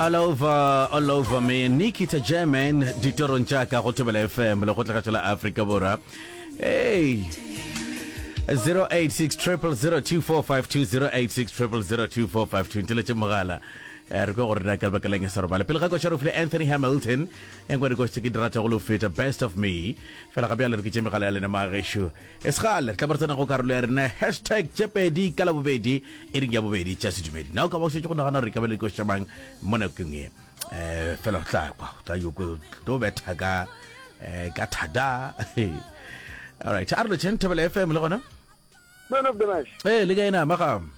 All over, all over me. Nikita German, ditorong tša ka go Thobela FM, le go tla la Afrika Borwa. Hey. 086 0002452 086 0002452 nteletše mogala eh, re kwe gore na ka lebaka leng e sa robale pele ga koša re file anthony hamilton e nngwe dikoši tse ke di rata go lo feta best of me fela ga bjale re ke tše megala ya lena magešo E se kgale re tla be re tsena go karolo ya rena hashtag tše pedi ka labobedi e reng ya bobedi tša sedumedi. Na o ka ba o šetše go nagana gore e ka ba le dikoši tša mang mo nakong ye? Um fela o tla kwa o tla yo tlo betha ka um ka thada. All right, a re lotšheng Thobela FM le gona. Man of the match. Ee, le kae na magam?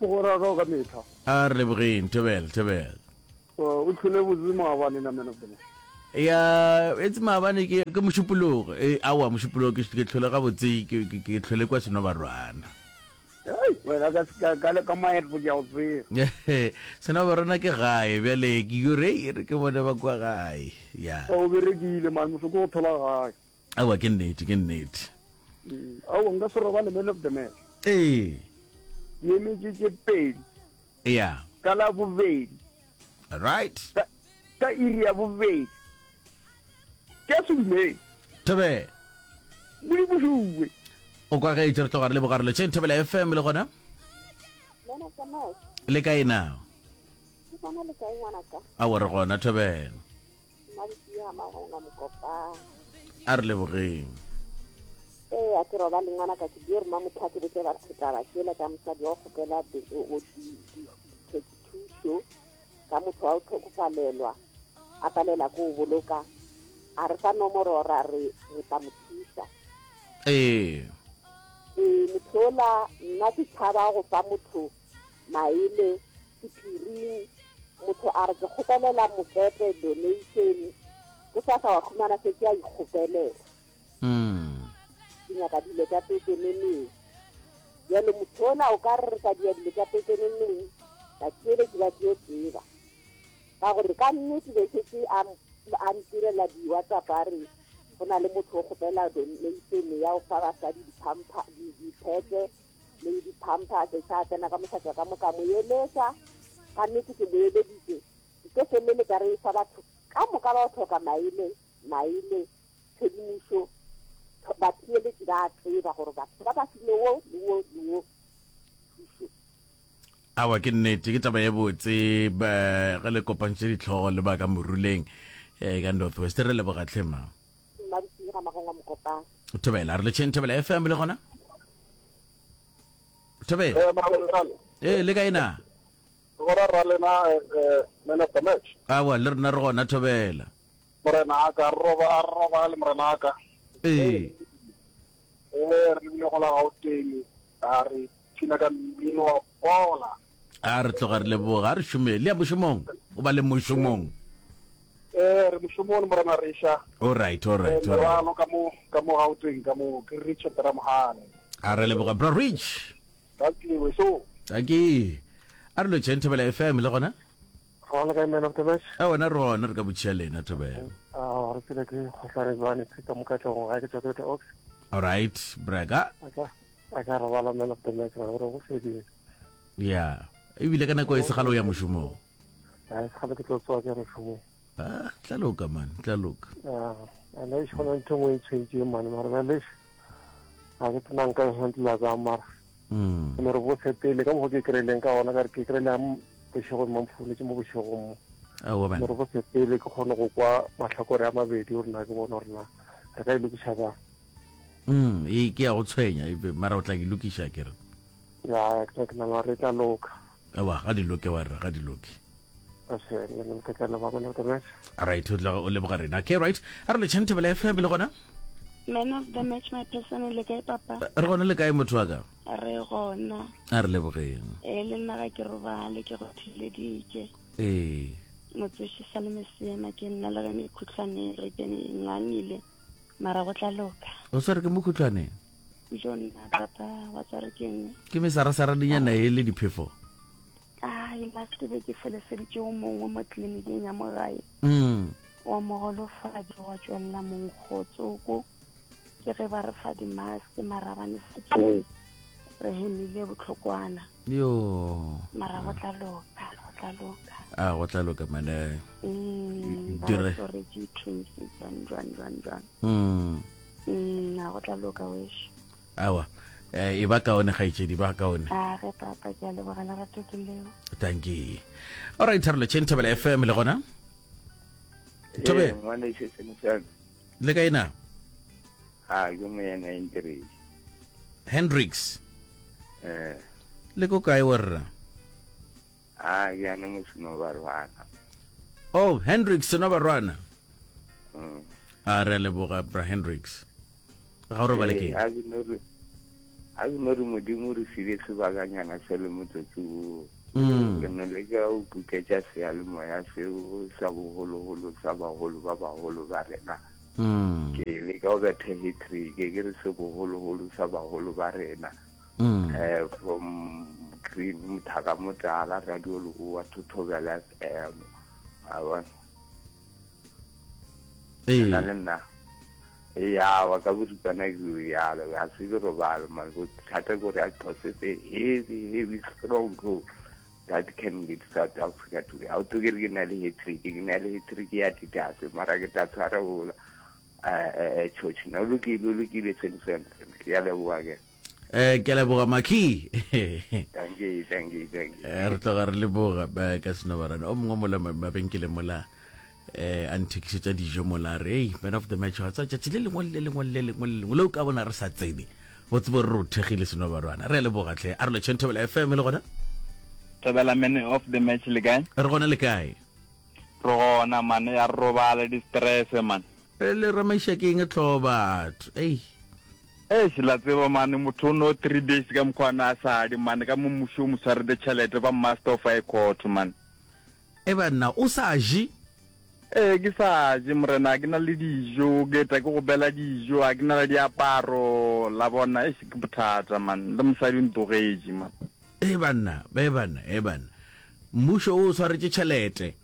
Mogwera ka ka metlha. A re lebogeng Thobela, Thobela. O tlhole botse maabane na man of the match. Ya etse maabane ke ke mošupologo e awa mošupologo ke ke tlhole gabotse ke ke ke tlhole kwa Senobarwana. Hei, wena ka ka ka ka maetlo ke a o tseba. Senobarwana ke gae bjale ke yo re e re ke bone ba kwa gae. Ya. O berekile man mosoko go thola gae. Awa ke nnete ke nnete. Aowa nka se robale man of the match. Ee. Ke emetše tše pedi. Ya. Ka la bobedi. Right. Ka, ka iri ya bobedi. Ke a sedumedi. Thobela. Modimo šuwe. O kwa ge re tloga re leboga re letšeng Thobela FM le gona. Le kae na? Ke gona le kae ngwanaka? Aowa re gona Thobela. A re lebogeng. Ee, a ke robale ngwanaka ke dio roma motho a ke botse batho taba tšela tša mosadi wa go kgopela thušo ka motho wa go tlhokofalelwa a palela ko o boloka a re fa nomoro ra re re tla mo thuša ee ee motho ola nna ke tšhaba go fa motho maele sephiring motho a re ke kgopelela mokete donation ke sa sa wa khumana se ke a ikgopelela mm. ke nyaka dilo tša pepeneneng bjale motho ola o ka re re ka dia dilo tša pepeneneng batheeletši ba tlo tseba ka gore ka nnete be setse a a ntirela di-whatsapp a re go na le motho o kgopela donation ya go fa basadi di-pampa diphete le di-pampers sa tsena ka mošate ka moka mo eletša ka nnete ke mo eleditše ke tlo feleletša re fa batho ka moka ba go tlhoka maele maele tshedimošo batheeletši ba tseba gore batho ba ba file wo le wo le wo thušo Aowa, ke nnete, ke taba ye botse ge le kopantše ditlhogo le ba ka Moruleng eh, ka North West. Re leboga tlhe ma. Mmaditsing ga Magongwa Mokopane. Thobela, re letšheng Thobela FM le gona? Thobela. Eh, Mabalekale. Eh, le kae na? Gora ra lena eh, eh, man of the match. Awa, le rena re gona Thobela. Morena a ka roba a roba le morena a ka. Ee. Eh, re lebile go la Gauteng, a re phina ka mmino wa bola. A re tloga re leboga, a re šome. Le ya mošomong? O ba le mošomong? Eh, re mošomong morena Risha. All right, all right, all right. Merwalo ka mo ka mo Gauteng ka mo ke Richard Ramogale. A re leboga bro Rich. Thank you so. Thank you. A re lotšheng Thobela FM le gona? Gona kae man of the match? A wena re gona re ka botšiša lena Thobela. A re tsela ke kgohlane jwane Peter Mokatlong ga ke tswa Greater Oaks. All right, brega. A ka a ka robala man of the match gore go fedile. Yeah. Ebile ka nako e segalo ya mošomong. A e segalo ke tlo tsoa ke mošomong. Ah, tla loka man, tla loka. Ah, ana e shona ntho nngwe e tshwentse man mara ba le ga ke tsena nka e handla bjang mara. Mm. Ne re botse pele ka mokgwa ke kry-ileng ka gona ka re ke kry-ile bošego mo mfounetse mo bošegong mo. Aowa man. Ne re botse pele ke kgone go kwa mahlakore a mabedi gore na ke bone gore na re ka e lokiša bjang. Mm, e ke ya go tshwenya e mara o tla e lokiša ke re. Ya, ke ke nagana re tla loka. Aowa, ga di loke wa re, ga di loke. Right, o tla o leboga rena. Okay, right. A re letšheng Thobela FM le gona? Man of the match my person le kae papa? Re gona le kae motho wa ka? Re gona. A re lebogeng. Eh le nna ga ke robale ke go thileditše. Ee. Motsoši sa le mesema ke nna le ge mekhutlwane re ke ngangile mara go tla loka. O swere ke mokhutlwane? Jo nna papa wa tsware ke eng? Ke mesarasaradinyana e le diphefo. Ai last be ke feleseditše o mongwe mo tleliniking ya mo gae. Mm. Wa mogolofadi wa tšwelela monkgo tsoko ke ge ba re fa di-mask mara ba ne se re hemile bohlokwana. Yo. Mara go tla loka, go tla loka. A go tla loka mane. Mm, ba Dire. re swaretše twins jwang jwang jwang jwang. Mm. Mm, a go tla loka wešo. Awa. Eh, e ba kaone kgaetšedi, ba kaone. A ge papa ke a leboga lerato ke leo. Thank you. All right, Thabo Lecheng Thobela FM le gona. Thobe. Ee, ngwaneso Senisane. Le kae na? Ha, ke moyena Hendrix. Hendrix. Eh. Le ko kae warra? Ha, ke ane mo Senobarwana. Oh, Hendrix Senobarwana. Mm. A re a leboga bra Hendrix. Ga o robale ke? A ke no re a ke no re modimo re file sebakanyana se le motsotso wo. Mm. Ke no leka go kuketša seyalemoya seo sa bogologolo sa bagolo ba bagolo ba rena. Mm. Ke leka go betha hat-trick ke re se bogologolo sa bagolo ba rena. Mm. Eh, from Green Mothaka Motala Radio Leboa to Thobela FM. A bona. Ee. Nna le nna. Ya wa ka boripana ke rialo, ga se ke robale man. Bothata ke gore I possess a heavy, heavy strong role that can lead South Africa to. Ha o tlo ke re ke na le hat-trick, ke na le hat-trick ya Adidas, mara ke tla tshwara bola. Eh, eh, eh, church. No lokile, o lokile seng seng. Ke a leboga ke. Eh, ke a leboga Maki. Thank you, thank you, thank you. Eh, re tloga re leboga eh, ka senobarane o mongwe mola mabenkeleng mola eh a nthekišetša dijo mola re ei man of the match wa tsa tšatši le lengwe le lengwe le lengwe le lengwe le o ka bona re sa tsene o tsebo re re o thekgile senobarwana re a leboga tlhe a re lotšheng thobela fm le gona Thobela man of the match le kae? Re gona le kae? Re gona man ya re robala di stress man. E le ramaiša ke eng tlho batho ei. Eish la tseba mane motho o no 3 days ka mokgwa na sa di mane ka mo mmušo o mo tshwarede tšhelete ba master of high court man. E banna o sa je? Ee ke sa je morena a ke na le dijo ke tla ke go bela dijo a ke na le diaparo la bona eish ke bothata man le mosadi o ntogetše man. E banna e banna e banna mmušo o swaretše tšhelete.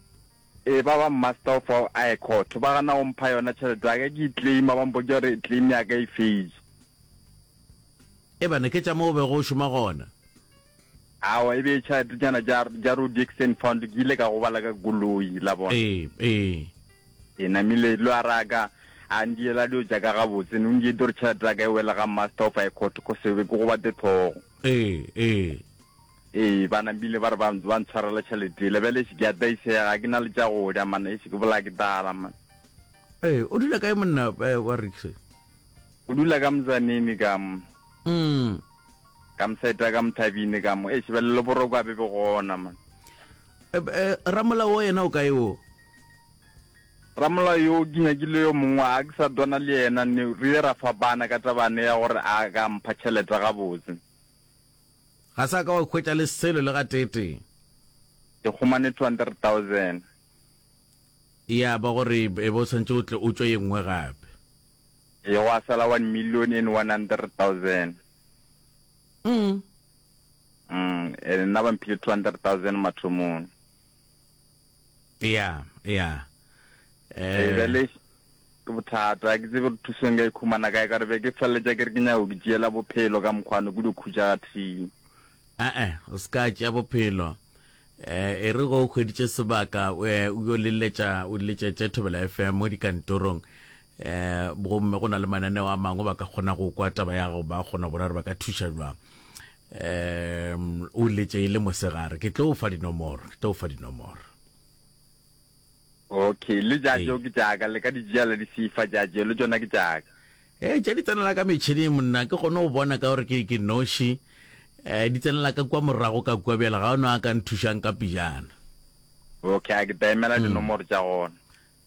Ee ba ba master of high court ba gana go mpha yona tšhelete ya ka ke e claima ba mpotša gore claim ya ka e fetše. E banna ke tša mo o bego o šoma gona. Aowa e be e tšhelete tšana tša tša road accident fund ke ile ka gobala ka koloi la bona. Ee ee. E namile lo a raka a ndiela dilo tša ka gabotse ne o nkete gore tšhelete ya ka e wele ga master of high court ko sebe ke gobate tlhogo. Ee ee. Ee, ba napile ba re ba, ba ntshwarela tšhelete yela. Bjale eish ke a taisega, ga ke na le tša go ja man, eish ke bolaya ke tlala man. Ee, o dula kae monna eh, wa Rix? O dula ka Mzanini ka mo. Mm. Ka moseta ka Mthabini ka mo. Eish bjale le boroko a be be gona man. Eh, eh, ramolao o yena o kae o? Ramolao yo ke nyakile yo mongwe a ke sa dwana le yena ne re ile ra fapana ka tabane ya gore a ka mpha tšhelete gabotse. Ga sa ka wa hwetša le selo le gateetee. Ke humane 200,000. Ya ba gore e be o swanetše o tle o tšwe ye nngwe gape. Ee, gwa sala 1,100,000. Mm. Mm, ene nna ba mphile 200,000 mathomong. Ya, ya. Eh, Eh, bjale ke bothata, ga ke tsebe gore thuso nka e khumana kae, ka gore be ke feleletša ke re ke nyaka go itšeela bophelo ka mokgwano, ke dio khutša ga thii. A-e, o se ka tšea bophelo. Eh, e re go o hweditše sebaka, eh, o yo leletša, o letšetše Thobela FM mo dikantorong. Eh, gomme go na le mananeo a mangwe ba ka kgona go kwa taba ya gago, ba kgona go bona gore ba ka thuša jwang. Eh, o letše e le mosegare, ke tlo o fa dinomoro, ke tlo o fa dinomoro. Okay, le tša Ee. tšeo ke tša ka, le ka di tšea la di sefa tša tšeo, le tšona ke tša ka. Ee, tša di tsenela ka metšhineng monna, ke kgone go bona ka gore ke ke noši. Eh, di tsenela ka kua morago ka kua bjale ga o no a ka nthušang ka pejana. Okay, a ke tla emela dinomoro tša gona.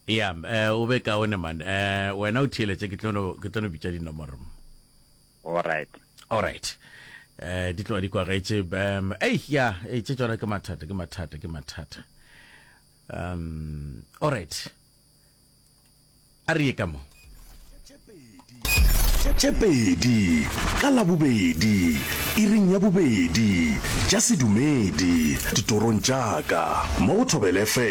Ya, eh, o be kaone man. Eh, wena o theeletše ke tlo no ke tlo no bitša dinomoro. Alright. Alright. Eh, di tloga di kwagetše. Um, ei, ya, ei, tše tšona ke mathata, ke mathata, ke mathata. Um, alright. A re ye ka mo. Tše pedi ka Labobedi, iring ya bobedi, tša sedumedi, ditorong tša ka, mo go Thobela FM.